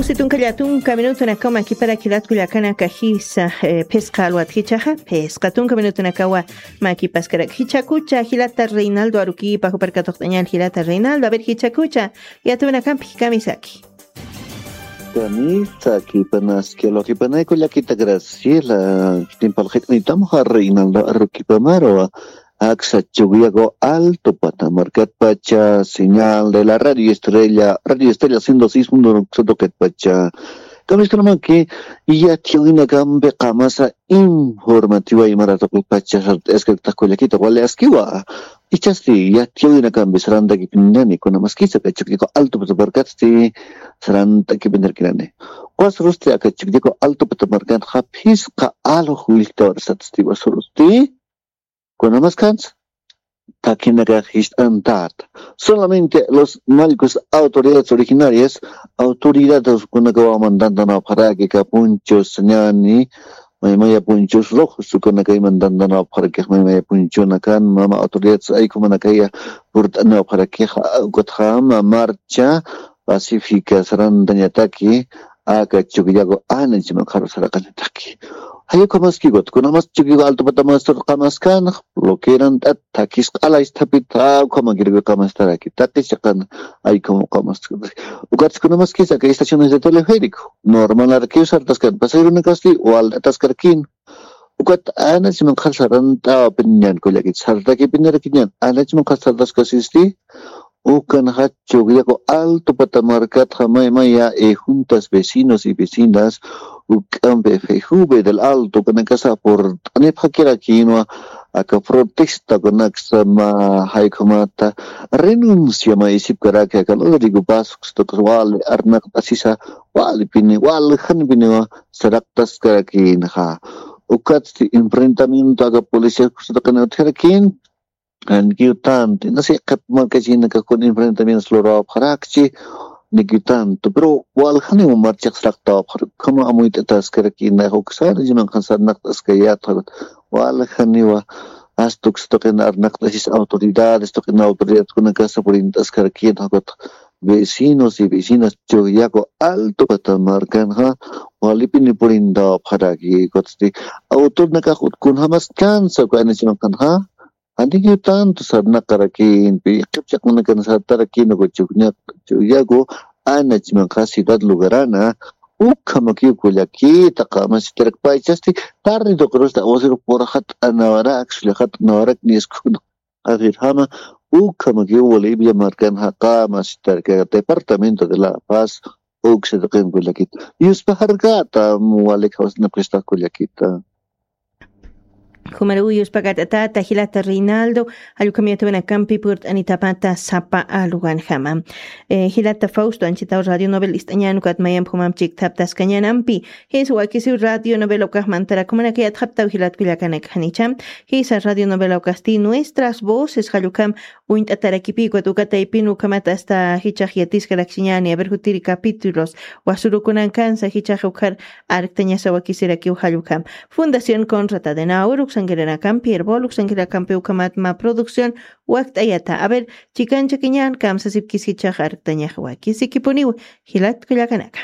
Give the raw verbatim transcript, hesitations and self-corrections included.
Situnka llatunka minutunakaw makiparak jilat kullakanaka jisa, eh, phisqa alwat jichaxa, phisqa tunka minutunakawa makipaskarak jichakucha jilata Reinaldo Aruquipa juparkatuqt'añal jilata Reinaldo, a ver jichakucha, yatunakampi kamisaki. Kamisaki panaski alwakipanay kullakita Graciela, timpal qit'nitam ja Reinaldo Aruquipa marwa, Aksa Chuquillago Alto Patamarcat pacha, señal de la Radio Estrella, Radio Estrella ciento seis punto nueve Sotoquet pacha. Kamiskunamaki, yatiyawinakampi qamasa informativa imaratoqi pacha sart'askakta kullakita wali askiwa. Ichasti yatiyawinakampi sarantakipiñani kunamaskisa aka Chuquillago Alto Patamarcatsti sarantakipiñarkinani. Qas rusti aka Chuquillago Alto Patamarcat japhisqa alux willtawar satsti wasurusti. Kunamaskansa, takinakax jist'antat. Solamente los mallkus autoridades originarias, autoridades kunakawa mandantanapxaraki ka punchus ñani, maymaya punchus rojos kunakay mandantanapxaraki maymaya punchunakan, mama autoridades aykumanakaya purt'anapxaraki, ukatxama marcha pacífica sarantañataki, aka Chuquillago anachima qharusaraqañataki. Jayukhamaski, kunamas Chuquillago Alto Patamarcat qamaskan, loqueran tata takis q'ala isthapita, ukhamakirku qamastaraki, takis chaqan aykhum qamas. Ukatsi kunamaskis aka estaciones de teleférico, normalarakiw sartaskan, pasajerunakasti walt'ataskarakin. Ukat anachiman qhar sarant'awa piñan kullakit, sartaki piñarakiñan, anachiman qhar sartaskasisti, Ukanxa Chuquillago Alto Patamarcatxa maymaya, eh, juntas vecinos y vecinas, uk'ampi F J V del Alto, ukanakasa purt'anipxakirakinwa, aka protesta ukanaksa mä jaykhamata renuncia mä isipkaraki aka Rodrigo Vaz, uksa tuqis wali arnaqt'asisa, walipini, wali janipiniwa saraqtaskarakinxa. Ukatsti enfrentamiento aka policía uksa tuqina utjarakin, Ankiw tanto, inasi qhip markachinakakun enfrentamientos lurawapxarakchi, nikiw tanto, pero waljaniw marchaq saraqtawapxarak, ukhama amuyt'ataskarakina, uksana chimanqan sarnaqt'askayätxa, waljaniwa, hasta uksa tuqina arnaqt'asis autoridades, tuqina autoridadkunakasa purint'askarakina, vecinos y vecinas Chuquillago Alto Catamarcanxa, walipini purintawapxaraki, kutsti, autornakax utkunjamas kansa, ukhana chimanqanxa, Antikiw tanto sarnaqarakinpi, qhipchaqmanakan sartarakin, uka Chuquillago, Chuquillago, anachmanqa ciudad lugarana, ukhamakiw kullakita, qamasitarak paychasti, tarde tuqirusta, awasiru purxat'anawarak, sullxat'anawarak, niskuna, qhirjama, ukhamakiw Bolivia markan jaqamasitarak, departamento de La Paz, uksa tuqin kullakita. Yuspajarkata, walik jawsnapxista kullakita. Jumaruw yuspakat'atata jilata Reinaldo, jallukhamiyatawanakampi purt'anitapata sapa aluganjama. Eh, jilata Fausto, anchitaw Radio Novel ist'añan ukat mayamp jumamp chikthaptaskañanampi. Jis wakisiw Radio Novel ukaxmantarak jumanakayatxaptaw jilat kullakanakjanicha. Jisa Radio Novel ukasti nuestras voces jallukham uñt'atarakipï, ukat uka taypin ukhamat hasta jichhax yatiskaraksiñäni, a ver, jutiri capítulos, wasurukunankansa jichhax ukhar arktañasa wakisirakiw jallukham. Fundación Conrad Adenauer uksankiranakampi, Erbol uksankiranakampi ukhamat mä producción wakt'ayata. A ver, chikanchakiñän, kamsasipkis jichhax arktañax wakisikipuniw, jilat kullakanaka.